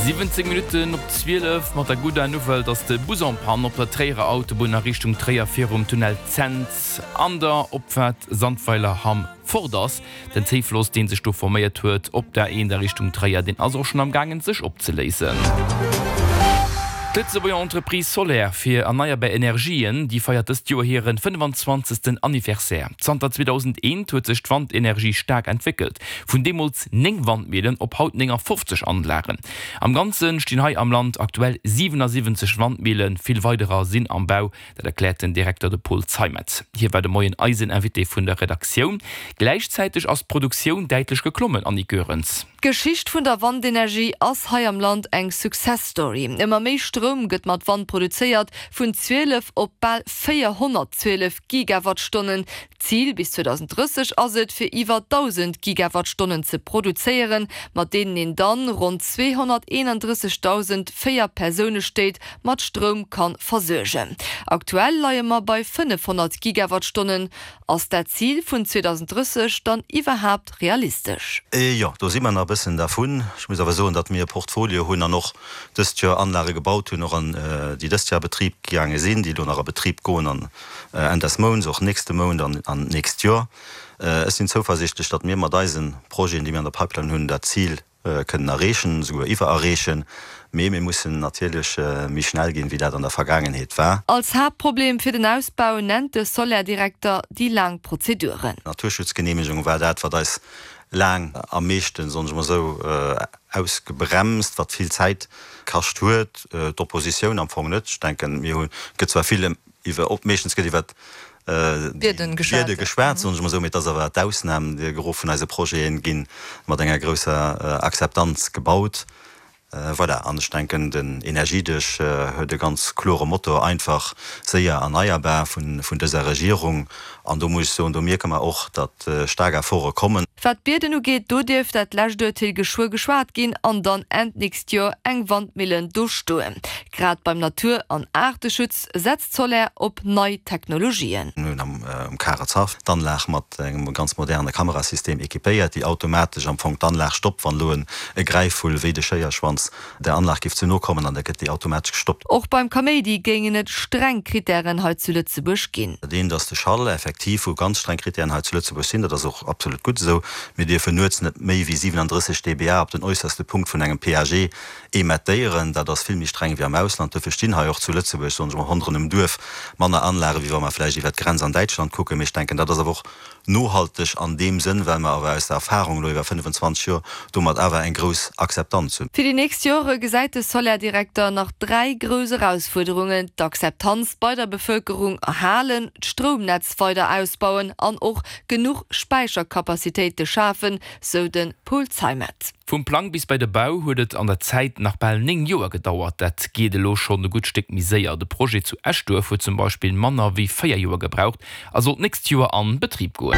17 Minutten op 12 mat der gudder Nouvelle, dass de Bus en panne op der Tréierer Autobunn a Richtung Tréier virum Tunnel Cents an der Opfaart Sandweiler-Hamm fort ass. Den Zéifloss, dee sech do forméiert huet op der 1 a Richtung Tréier, deen ass och schonn am gaangen sech opzeléisen. D'Lëtzebuerger Entreprise Soler fir erneierbar Energien, déi feiert dëst Joer hiren 25. Anniversaire. Zanter 2001 huet sech d'Wandenergie staark entwéckelt, vun deemools 9 Wandmillen op haut 59 Anlagen. Am Ganze stinn hei am Land aktuell 77 Wandmillen, vill weiderer sinn am Bau. Dat erkläert den Direkter, de Paul Zeimet. Hie war de Moien eisen Invité vun der Redaktioun. Gläichzäiteg ass d'Produktioun däitlech geklommen, Annick Goerens. D'Geschicht vun der Wandenergie ass hei am Land eng Success Story. Ëmmer méi Stroum gëtt mat Wand produzéiert, vun 12 op bal 412 Gigawattstonnen. D'Zil bis 2030 ass et, fir iwwer 1.000 Gigawattstonnen ze produzéieren, mat deenen een dann ronn 231.000 Véier-Persoune-Stéit mat Stroum kann versuergen. Aktuell leie mer bei 500 Gigawattstonnen. Ass dat Zil vun 2030 dann iwwerhaapt realistesch? Jo, do si mer nach e bëssen dervun. Ech muss awer soen, datt mir e Portfolio hunn an och dëst Joer Anlage gebaut hunn, och an déi dëst Joer a Betrib gaange sinn, déi elo nach a Betrib goen an Enn des Mounts, och nächste Mount an d'nächst Joer. Ech sinn zouversiichtlech, datt mir mat eise Projeten, déi mir an der Pipeline hunn, dat Zil kënnen erreechen, esouguer iwwererreechen, mee mir mussen natierlech méi schnell ginn, wéi dat an der Vergaangenheet war. Als Haaptproblem fir den Ausbau nennt de Soler-Direkter déi laang Prozeduren. D'Naturschutzgeneemegung war dat, wat eis laang am meeschten, soen ech mol esou, ausgebremst, wat vill Zäit kascht huet. D'Oppositioun am Fong net. Ech denken, mir hunn, et gëtt zwar vill iwwer, meeschtens gëtt iwwert Bieden geschwat, soen ech emol esou, mee et ass awer d'Ausnam. De Gros vun eise Projete gi mat enger grousser Akzeptanz gebaut. Voilà, an ech denken, den Energiedësch huet e ganz klore Motto, einfach, séier, erneierbar vun dëser Regierung. An do muss ech soen, do mierke mer och, datt staark Efforte kommen. Wat d'Bieden ugeet, do dierft dat lescht Urteel geschwë geschwat ginn an dann Enn d'nächst Joer eng Wandmillen do stoen. Grad beim Natur an Aarteschutz setzt Soler op nei Technologien. Mir hunn am Karezhaff d'Anlag mat engem ganz moderne Kamerasystem equipéiert, déi automatesch am Fong d'Anlag stoppt, wann elo e Gräifvull wéi de Schéierschwanz der Anlag géif ze no kommen, an da gëtt déi automatesch gestoppt. Och beim Kaméidi géingen et streng Krittären hei zu Lëtzebuerg ginn. Dat eent ass de Schall, effektiv, wou ganz streng Krittären hei zu Lëtzebuerg sinn. Dat ass och absolut gutt esou. Mir dierfen nuets net méi wéi 37 dBA op den äusserste Punkt vun engem PAG Emettéieren, dat ass vill méi streng wéi am Ausland. Dofir stinn hei och zu Lëtzebuerg, soen ech mol, ronderëm dem Duerf manner Anlagen, wéi wa mer vläicht iwwert d'Grenz an Däitschland kucken. Mee ech denken, dat ass awer och nohalteg an deem Sënn, well mer awer aus der Erfahrung elo iwwer 25 Joer domat awer eng grouss Akzeptanz hunn. Fir déi nächst Jore gesäit de Soler-Direkter nach 3 grouss Erausfuerderungen, d'Akzeptanz bei der Bevëlkerung erhalen, d'Stroumnetz weider ausbauen an och genuch Späichercapacitéite schafen, sou de Paul Zeimet. Vum Plang bis bei de Bau huet et an der Zäit nach bal 9 Joer gedauert. Dat geet elo schonn e gutt Stéck méi séier. De Projet zu Eschduerf huet zum Beispill manner wéi 4 Joer gebraucht a soll d'nächst Joer an Betrib goen.